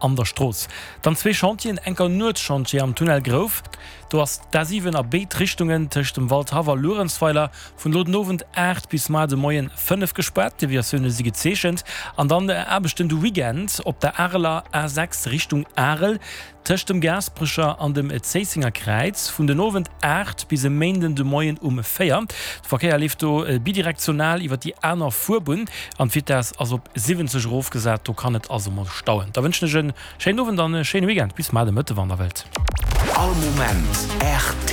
An der Strooss dann zwee Chantieren, enker Nuetschantier am Tunnel Grouf, do ass d'A7 a béid Richtungen tëscht dem Waldhaff a Luerenzweiler vun elo den Owend 8 bis mar de Moien 5 gespaart, d'Deviatioune si gezeechent. An dann Aarbechten de Weekend op der Areler A6 Richtung Arel, Tëscht dem Gaasperecher an dem Zéissenger Kräiz vun den Owend 8 bis e Méinden de Moien um 4. De Verkéier leeft do bidirektional iwwer déi aner Fuerbunn an d'Vitess ass op 70 erofgesat. Do kann et also mol stauen. Da wënschen ech e schéinen Owend an e schéine Weekend. Bis mar de Mëtte wann der wëllt. All Moment rtl.